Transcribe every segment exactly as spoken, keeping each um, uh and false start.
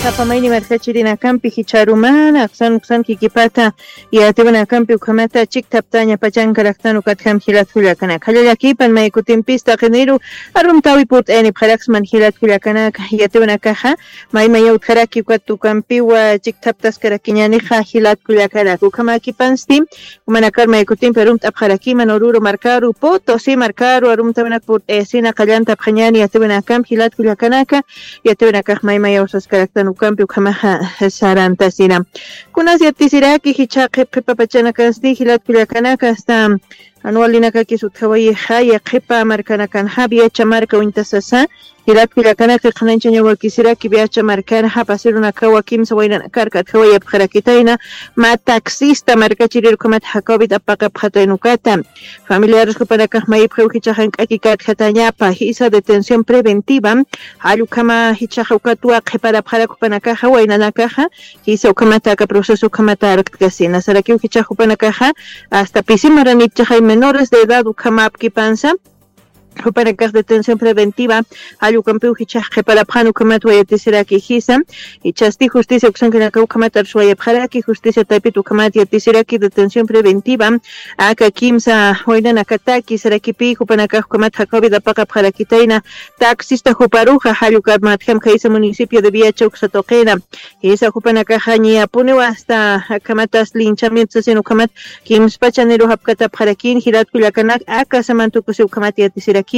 Sapa mayni markachirinakampi jichharumana, aksan uksan kikipata, yatiwanakampi ukhamata chikthaptaña pachankaraktan ukatjam jilat kullakanaka. Jallallakipan maykutimpis taqiniru arumtawi purt'ayanipxaraksman jilat kullakanaka, yatiwanakaxa, maymayaw utjaraki ukat ukampiwa chikthaptaskarakiñanixa jilat kullakanaka. Ukhamakipansti, Jumanakar maykutimpi arumt'apxarakiman Oruro markaru, Potosí markaru arumtawinak purt'ayasina qallantapxañani yatiwinakamp jilat kullakanaka, yatiwinakax maymayaw saskaraktan ukampi ukhamaxa sarantasina. Kunas yatisiraki jichha qhip qhipa pachanakansti jilat kullakanaka, hasta anualinakakis utjawayixa yaqhipa markanakanxa Viacha marka uñtasasa, jilat kullakanaka qhananchaña wakisiraki Viacha markanxa pasirunakawa kimsa waynanakar katjawayapxarakitayna, mä taxista markachirir ukhamat Jacobit apaqapxataynukata. Familiares jupanakax mayipxiw jichhax jank'aki katjatañapa, jisa detención preventiva, jall ukhama jichhax ukatwa qhiparapxarak jupanakaxa waynanakaxa, jisa ukhamata aka proceso ukhamata arkkasina. Sarakiw jichhax jupanakaxa, hasta pisi maranipchaxay menores de edad ukhamapkipansa, jupanakax detención preventiva, jall ukampiw jichhax qhiparapxan ukhamat wayatisiraki jisa, jichhasti justicia uksankanaka ukhamat arswayapxaraki, justicia taypit ukhamat yatisiraki detención preventiva, aka kimsa waynanakataki, sarakipi jupanakax ukhamat Jacobit apaqapxarakitayna, taxista juparuxa, jall ukamatjam khaysa municipio de Viacha uksa tuqina, jisa jupanakaxa ñiyapuniw hasta akhamatas linchamiento sasin ukhamat, kimspachaniru japkatapxarakin jilat kullakanak aka saman tukusi ukhamat yatisirakinxa.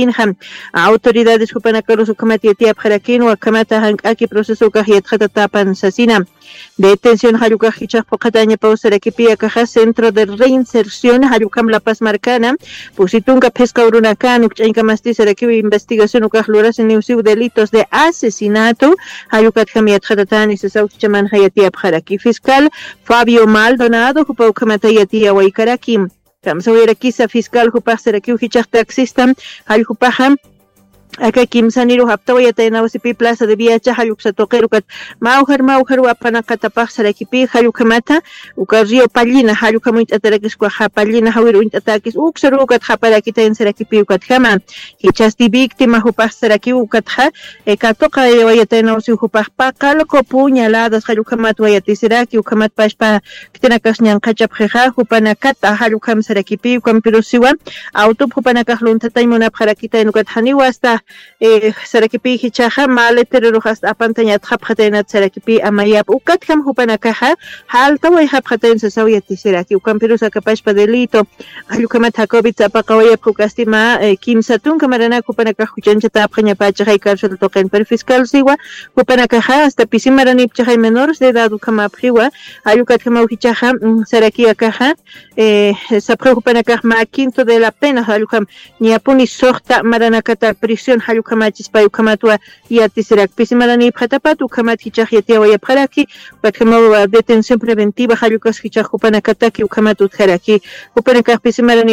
Autoridades jupanakarus ukhamat yatiyapxarakin, ukhamata jank'aki proceso ukax yatxatatapan sasina. Detención jall ukax jichhax phuqhatañapaw sarakipi akaxa Centro de Reinserción jall ukham La Paz markana, pusi tunka phisqa urunakan ukch'añkamasti sarakiw investigación ukax lurasiniw siw delitos de asesinato, jall ukatjam yatxatatani sasaw jichhamanxa yatiyapxaraki. Fiscal Fabio Maldonado jupa ukhamata yatiyawaykaraki. Kamsawayarakisa fiscal jupax sarakiw jichhax taxista, jall jupaxa aka kimsaniru japtawayataynaw sipi Plaza de Viacha jall uksa tuqir ukat mawjar mawjar wapanaqatapax sarakipi, jall ukhamata uka Río Pallina jall ukham uñt'atarakis ukaxa Pallina jawir uñt'atakis uksaru ukat japarakitayn sarakipi ukatjama. Jichhasti víctima jupax sarakiw ukatxa, eh, katuqayawayataynaw siw jupax paqal qupuñaladas jall ukhamat wayatisiraki, ukhamat pachpa khitinakas ñanqhachapxixa, jupanakata jall ukham sarakipi, ukampirusiwa autop jupanakax lunthatañ munapxarakitayna ukat janiwa hasta, eh, sarakipi jichhaxa, maleterorux hasta apantañ atxapxataynat sarakipi amayap, ukatjam jupanakaxa, jaltawayxapxatayn sasaw yatisiraki, ukampirus aka pachpa delito, jall ukhamat Jacobit apaqawayapxi ukasti mä, eh, kimsa tunka maranak jupanakax juchañchatäpxañapächixay cárcel tuqin, pero fiscal siwa, jupanakaxa hasta pisi maranipchaxay menores de edad ukhamapxiwa, jall ukatjamaw jichhaxa, mm, saraki akaxa, eh, sapxiw jupanakax mä quinto de la pena, jall ukham ñapuni suxta maranakata prisión jall ukhamachispay ukhamatwa yatisirak. Pisi maranipxatapat ukhamat jichhax yatiyawayapxaraki, ukatjamaw detención preventiva jall ukas jichhax jupanakataki ukhamat utjaraki. Jupanakax pisi maranipxi